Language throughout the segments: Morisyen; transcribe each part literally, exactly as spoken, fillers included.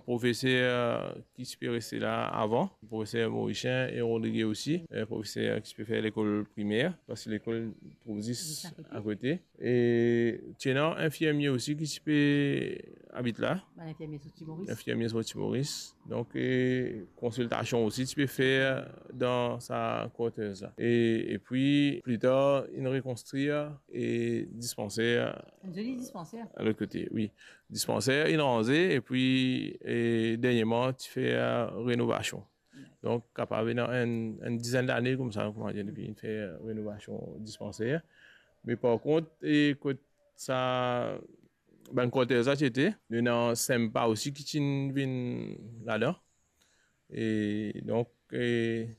Profeser ki ti pe reste la avan, profeser morisien e Rodrige osi, eh, profeser ki ti pe fer lekol primer, parski lekol trouv zis akote. E ti ena infirmie osi ki ti pe abit la. Bann infirmie sorti Moris. Infirmie sorti Moris. Donk, e, konsiltasion osi ti pe fer dan sa quarters la. E, epi, pli tar, inn rekonstrir e dispanser. Enn zoli dispanser. A lot kote, wi. Dispanser, inn ranze, epi, e, dernierman, ti fer renovasion. Donk, kapav ena enn, enn dizenn lane koumsa, kouma dir, depi inn fer renovasion dispanser. Me par kont, e, kot sa, bann quarters la ti ete, nou ena Sempa osi ki ti vinn ladan. E donk, e,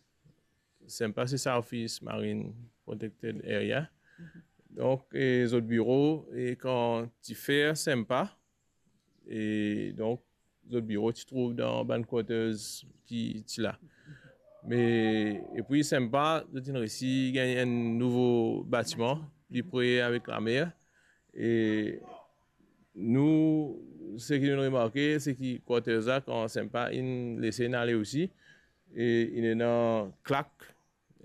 Sempa se South East Marine Protected Area. Donk, e, zot biro, e, kan ti fer Sempa, e donk, zot biro ti trouv dan bann quarters ki ti la. Me, epi Sempa, zot inn resi gagn enn nouvo batiman, pli pre avek lamer. E nou, seki nou remarke, seki quarters la, kan Sempa inn lese inn ale osi, e inn ena Clack,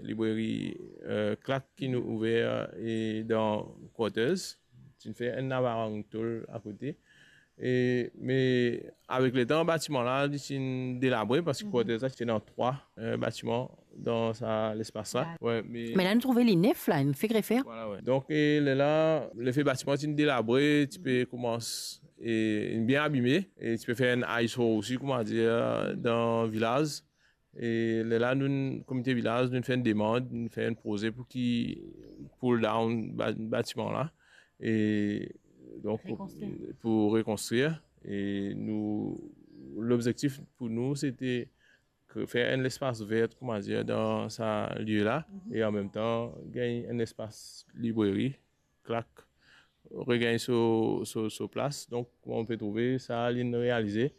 libreri, eh, Clack ki nou ouver, eh, dan quarters. Ti inn fer enn lavarang tol akote. E, me avek letan, batiman la, li ti inn delabre, parski quarters la, ti ena trwa, eh, batiman dan sa lespas la. Wi, me la nou trouve li nef la, inn fek refer. Vwala, wi. Donk, e, lerla, lefe batiman ti inn delabre, ti pe koumans, e, inn bien abime, e ti pe fer enn eyesore osi, kouma dir, dan vilaz. E lerla, nou, komite vilaz, nou fer enn demann, nou fer enn proze pou ki pull down ba-, batiman la. E donk, pou, pou rekonstrir. E nou, lobzektif pou nou, sete kre-, fer enn lespas ver, kouma dir, dan sa lie la, e anmemtan, gagn enn lespas libreri, Clack, regagn so, so, so plas. Donk, kouma ou pe trouve, sa, li inn realize.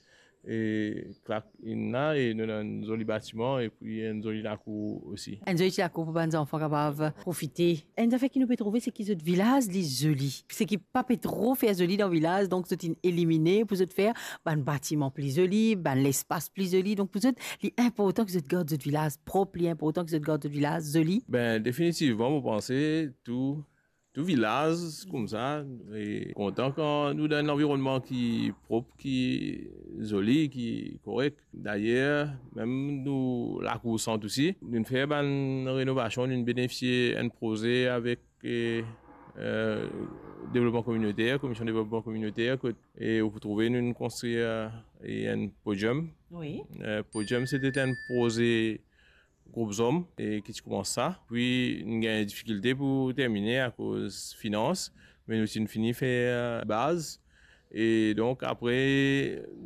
E Clack inn la, e nou ena enn zoli batiman, epi enn zoli lakour osi. Enn zoli ti lakour pou bann zanfan kapav profite. Enn zafer ki nou pe trouve, seki zot vilaz, li zoli. Seki pa pe tro fer zoli dan vilaz, donk zot inn elimine pou zot fer bann batiman pli zoli, bann lespas pli zoli. Donk pou zot, li inportan ki zot gard zot vilaz prop, li inportan ki zot gard zot vilaz zoli. Be, definitivman, mo panse tou tou vilaz koumsa, e kontan kan nou dan enn lanvironnman ki prop, ki zoli, ki korek. Dayer, mem nou lakour sant osi, nou fer bann renovasion, nou benefisie enn proze avek, e, e, devlopman kominoter, Komision Devlopman Kominoter, kot, e ou pou trouve nou konstrir, e, enn podium. Wi. E, podium, sete enn proze Group Zom, e ki ti koumans sa. Pi, nou gagn difikilte pou termine akoz finans, me nou ti fini fer baz. E donk, apre,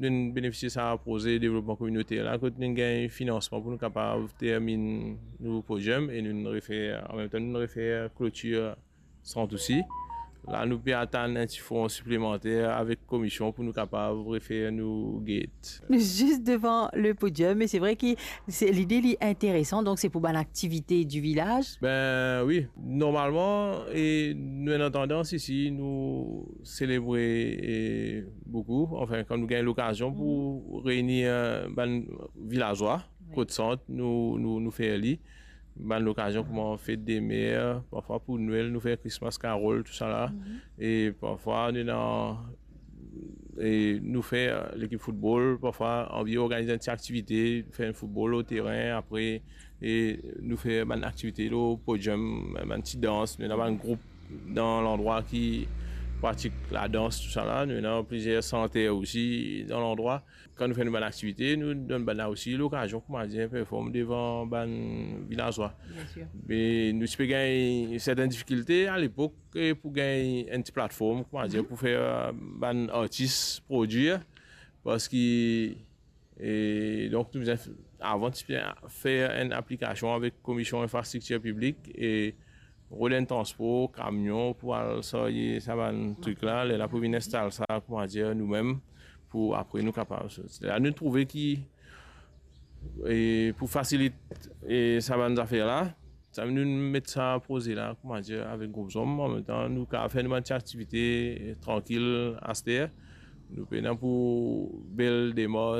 nou benefisie sa proze devlopman kominoter la, kot nou gagn finansman pou nou kapav terminn nou podium e nou refer, anmemtan, nou refer klotir sant osi. La, nou pe atann enn ti fon siplemanter avek komision pou nou kapav refer nou gate. Nou zis devan le podium, e se vre ki se, lide li interesan, donk se pou bann aktivite di vilaz. Be wi, normalman, e nou ena tandans isi, nou selebre, e, boukou, anfin, kan nou gagn lokazion pou reini, e, bann vilazwa, wi, kot sant, nou, nou, nou fer li. Bann lokazion kouma fet de mer, parfwa pou Nwel, nou fer Christmas Carol, tousala. Mhm. E parfwa, nou ena, e nou fer lekip foutbol, parfwa, anvi organiz enn ti aktivite, fer enn foutbol lor terin, apre, e nou fer bann aktivite lor podium, bann ti dans, nou ena bann group dan landrwa ki pratik ladans, tousala. Nou ena plizier santer osi dan landrwa. Kan nou fer nou bann aktivite, nou donn bann la osi lokazion, kouma dir, perform devan bann vilazwa. Bien sir. Me nou ti pe gagn sertin difikilte alepok, e pou gagn enn ti platform, kouma dir, mhm, pou fer, e, bann artis prodwir, parski, e donk, nou bizin f-, avan ti pe fer enn aplikasion avek Komision Infrastriktir Piblik e rod enn transpor, kamion pou al sarye sa bann trik la, lerla pou vinn instal sa, kouma dir, noumem, pou apre nou kapav sort. La nou trouve ki, e, pou fasilit, e, sa bann zafer la, sa nou met sa proze la, kouma dir, avek Group Zom, anmemtan nou kapav fer nou bann ti aktivite, e, trankil aster. Nou pena pou bel demars,